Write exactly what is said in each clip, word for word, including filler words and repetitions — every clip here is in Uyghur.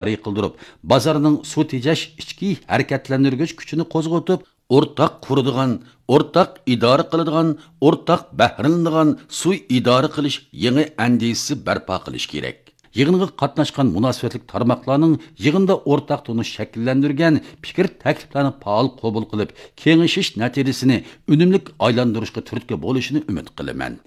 جارى قىلدۇرۇپ، بازارنىڭ سۇ تېجەش ئىچكى ھەرىكەتلەندۈرگۈچ كۈچىنى قوزغىتىپ، ئورتاق قۇرىدىغان، ئورتاق ئىدارە قىلىدىغان، ئورتاق بەھرىلىنىدىغان سۇ ئىدارە قىلىش يېڭى ئەندىزىسى بەرپا قىلىش كېرەك. يىغىنغا قاتناشقان مۇناسىۋەتلىك تارماقلارنىڭ يىغىندا ئورتاق تونۇش شەكىللەندۈرگەن پىكىر تەكلىپلەرنى پائال قوبۇل قىلىپ، كېڭىشىش نەتىجىسىنى ئۈنۈملۈك ئايلاندۇرۇشقا تۈرتكە بولۇشىنى ئۈمىد قىلىمەن.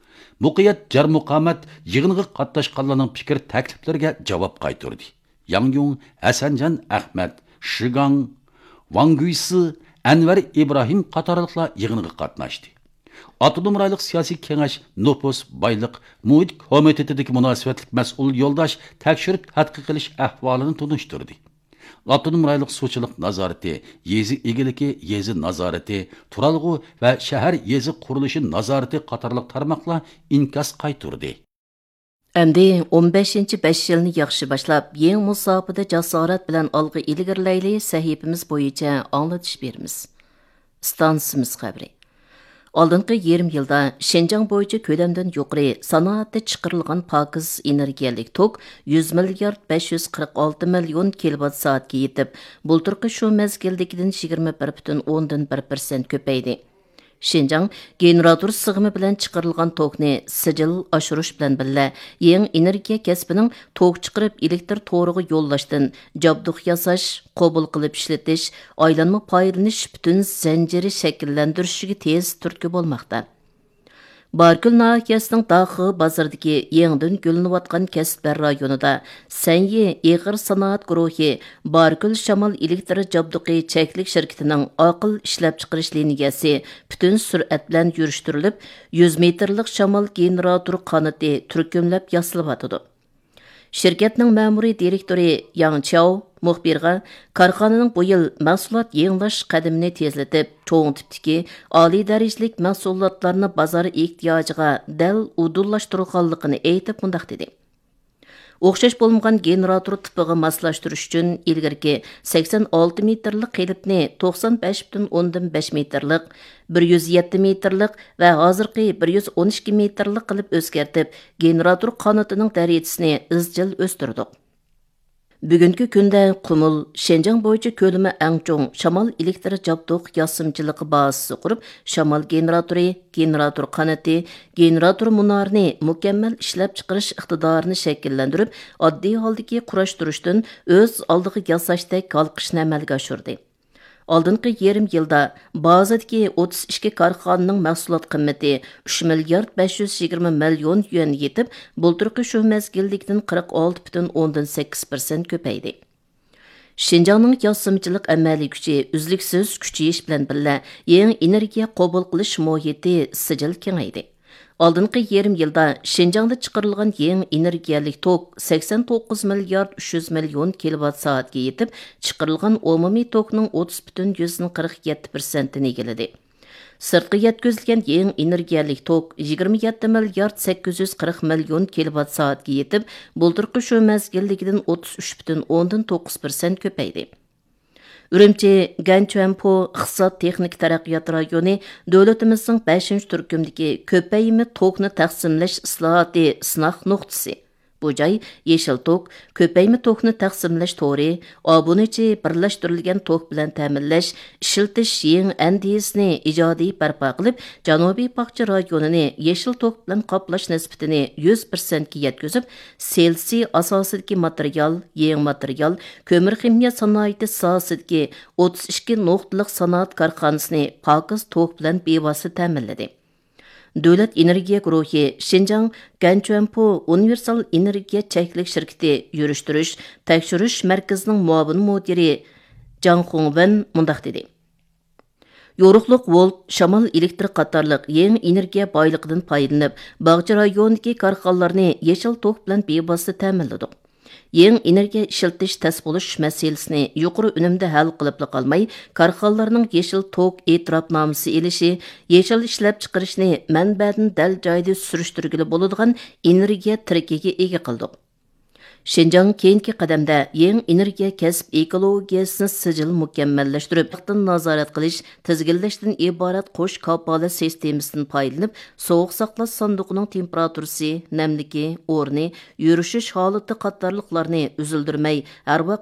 مۇقىيەت جار مۇقامەت يىغىنغا قاتناشقانلارنىڭ پىكىر تەكلىپلىرىگە جاۋاب قايتۇردى. ياڭ يۇڭ، ھەسەنجان ئەخمەت، شىگاڭ، ۋاڭ گۈيسى، ئەنۋەر ئىبراھىم قاتارلىقلار يىغىنغا قاتناشتى. ئاپتونوم رايونلۇق سىياسىي كېڭەش نوپۇس، بايلىق، مۇھىت كومىتېتىدىكى مۇناسىۋەتلىك مەسئۇل يولداش تەكشۈرۈپ تەتقىق قىلىش ئەھۋالىنى تونۇشتۇردى. ئاپتونوم رايونلۇق سۇچىلىق نازارىتى، يېزا ئىگىلىكى، يېزا نازارىتى، تۇرالغۇ ۋە شەھەر يېزا قۇرۇلۇشى نازارىتى قاتارلىق تارماقلار ئىنكاس قايتۇردى. ئەمدى ئون بەشىنچى بەش يىلنى ياخشى باشلاپ، يېڭى مۇساپىدە جاسارەت بىلەن ئالغا ئىلگىرىلەيلى سەھىپىمىز بويىچە ئاڭلىتىش بېرىمىز. ئىستانسىمىز خەۋىرى. ئالدىنقى يېرىم يىلدا شىنجاڭ بويىچە كۆلەمدىن يۇقىرى سانائەتتە چىقىرىلغان پاكىز ئېنېرگىيەلىك توك يۈز مىليارد بەش يۈز قىرىق ئالتە مىليون كىلوۋات سائەتكە يېتىپ، بۇلتۇرقى شۇ مەزگىلدىكىدىن يىگىرمە بىر پۈتۈن ئوندىن بىر پىرسەنت كۆپەيدى. شىنجاڭ گېنېراتور سىغىمى بىلەن چىقىرىلغان توكنى سىجىل ئاشۇرۇش بىلەن بىللە، يېڭى ئېنېرگىيە كەسپىنىڭ توك چىقىرىپ ئېلېكتر تورىغا يوللاشتىن جابدۇق ياساش، قوبۇل قىلىپ ئىشلىتىش، ئايلانما پايدىلىنىش پۈتۈن زەنجىرى شەكىللەندۈرۈشىگە تېز تۈرتكە بولماقتا. باركۆل ناھىيەسىنىڭ داخې بازىرىدىكى يېڭىدىن گۈللىنىۋاتقان كەسىپلەر رايونىدا سەنيى ئېغىر سانائەت گۇرۇھى باركۆل شامال ئېلېكتر جابدۇقى چەكلىك شىركىتىنىڭ ئاقىل ئىشلەپچىقىرىش لىنىيەسى پۈتۈن سۈرئەت بىلەن يۈرۈشتۈرۈلۈپ، يۈز مېتىرلىق شامال گېنېراتور قانىتى تۈركۈملەپ ياسىلىۋاتىدۇ. شىركەتنىڭ مەمۇرىي دىرېكتورى ياڭ چياۋ مۇخبىرغا، كارخانىنىڭ بۇ يىل مەھسۇلات يېڭىلاش قەدىمىنى تېزلىتىپ، چوڭ تىپتىكى ئالىي دەرىجىلىك مەھسۇلاتلارنى بازار ئېھتىياجىغا دەل ئۇدۇللاشتۇرغانلىقىنى ئېيتىپ، مۇنداق دېدى: ئوخشاش بولمىغان گېنېراتور تىپىغا ماسلاشتۇرۇش ئۈچۈن ئىلگىرىكى سەكسەن ئالتە مېتىرلىق قېلىپنى توقسان بەش پۈتۈن ئوندىن بەش مېتىرلىق، بىر يۈز يەتتە مېتىرلىق ۋە ھازىرقى بىر يۈز ئون ئىككى مېتىرلىق قىلىپ ئۆزگەرتىپ، گېنېراتور قانىتىنىڭ دەرىجىسىنى ئىزچىل ئۆستۈردۇق. بۈگۈنكى كۈندە قۇمۇل شىنجاڭ بويىچە كۆلىمى ئەڭ چوڭ شامال ئېلېكتر جابدۇق ياسىمىچىلىقى بازىسى قۇرۇپ، شامال گېنېراتورى، گېنېراتور قانىتى، گېنېراتور مۇنارىنى مۇكەممەل ئىشلەپچىقىرىش ئىقتىدارىنى شەكىللەندۈرۈپ، ئاددىي ھالدىكى قۇراشتۇرۇشتىن ئۆز ئالدىغا ياساشتەك ھالقىشنى ئەمەلگە ئاشۇردى. ئالدىنقى يېرىم يىلدا بازىدىكى ئوتتۇز ئىككى كارخانىنىڭ مەھسۇلات قىممىتى ئۈچ مىليارد بەش يۈز يىگىرمە مىليون يۈەنگە يېتىپ، بۇلتۇرقى شۇ مەزگىلدىكىدىن قىرىق ئالتە پۈتۈن ئوندىن سەككىز پىرسەنت كۆپەيدى. شىنجاڭنىڭ ياسىمىچىلىق ئەمەلىي كۈچى ئۈزلۈكسىز كۈچىيىش بىلەن بىللە، يېڭى ئېنېرگىيە قوبۇل قىلىش مۇھىتى سىجىل كېڭەيدى. ئالدىنقى يېرىم يىلدا شىنجاڭدا چىقىرىلغان يېڭى ئېنېرگىيەلىك توك سەكسەن توققۇز مىليارد ئۈچ يۈز مىليون كىلوۋات سائەتكە يېتىپ، چىقىرىلغان ئومۇمىي توكنىڭ ئوتتۇز پۈتۈن يۈزدىن قىرىق يەتتە پىرسەنتىنى ئىگىلىدى. سىرتقا يەتكۈزۈلگەن يېڭى ئېنېرگىيەلىك توك يىگىرمە يەتتە مىليارد سەككىز يۈز قىرىق مىليون كىلوۋات سائەتكە يېتىپ، بۇلتۇرقى شۇ مەزگىلدىكىدىن ئوتتۇز ئۈچ پۈتۈن ئوندىن توققۇز پىرسەنت كۆپەيدى. ئۈرۈمچى گەنچۈەنپو ئىقتىساد تېخنىكا تەرەققىيات رايونى دۆلىتىمىزنىڭ بەشىنچى تۈركۈمدىكى كۆپەيمە توكنى تەقسىملەش ئىسلاھاتى سىناق نۇقتىسى. بۇ جاي يېشىل توك، كۆپەيمە توكنى تەقسىملەش تورى، ئابۇنىچى بىرلەشتۈرۈلگەن توك بىلەن تەمىنلەش، ئىشلىتىش يېڭى ئەندىزىسىنى ئىجادىي بەرپا قىلىپ، جەنۇبىي باغچە رايونىنى يېشىل توك بىلەن قاپلاش نىسبىتىنى يۈز پىرسەنتكە يەتكۈزۈپ، سېلىسى ئاساسىدىكى ماتېرىيال، يېڭى ماتېرىيال، كۆمۈر خىمىيە سانائىتى ساھەسىدىكى ئوتتۇز ئىككى نۇقتىلىق سانائەت كارخانىسىنى پاكىز توك بىلەن بىۋاسىتە تەمىنلىدى. دۆلەت ئېنېرگىيە گۇرۇھى شىنجاڭ گەنچۈەنپو ئۇنىۋېرسال ئېنېرگىيە چەكلىك شىركىتى يۈرۈشتۈرۈش، تەكشۈرۈش مەركىزىنىڭ مۇئاۋىن مۇدىرى جاڭ خۇڭۋېن مۇنداق دېدى: يورۇقلۇق ۋولت، شامال ئېلېكتر قاتارلىق يېڭى ئېنېرگىيە بايلىقىدىن پايدىلىنىپ، باغچە رايونىدىكى كارخانىلارنى يېشىل توك بىلەن بىۋاسىتە تەمىنلىدۇق. يېڭى ئېنېرگىيە ئىشلىتىش تەس بولۇش مەسىلىسىنى يۇقىرى ئۈنۈمدە ھەل قىلىپلا قالماي، كارخانىلارنىڭ يېشىل توك ئېتىراپنامىسى ئېلىشى، يېشىل ئىشلەپچىقىرىشنى مەنبەدىن دەل جايىدا سۈرۈشتۈرگىلى بولىدىغان ئېنېرگىيە تىرىكىگە ئىگە قىلدۇق. شىنجاڭ كېيىنكى قەدەمدە يېڭى ئېنېرگىيە كەسىپ ئېكولوگىيەسىنى سىجىل مۇكەممەللەشتۈرۈپ، ۋاقتىن نازارەت قىلىش، تىزگىنلەشتىن ئىبارەت قوش كاپالەت سىستېمىسىدىن پايدىلىنىپ، سوغۇق ساقلاش ساندۇقىنىڭ تېمپېراتۇرىسى، نەملىكى، ئورنى، يۈرۈشۈش ھالىتى قاتارلىقلارنى ئۈزۈلدۈرمەي، ھەر ۋاقىت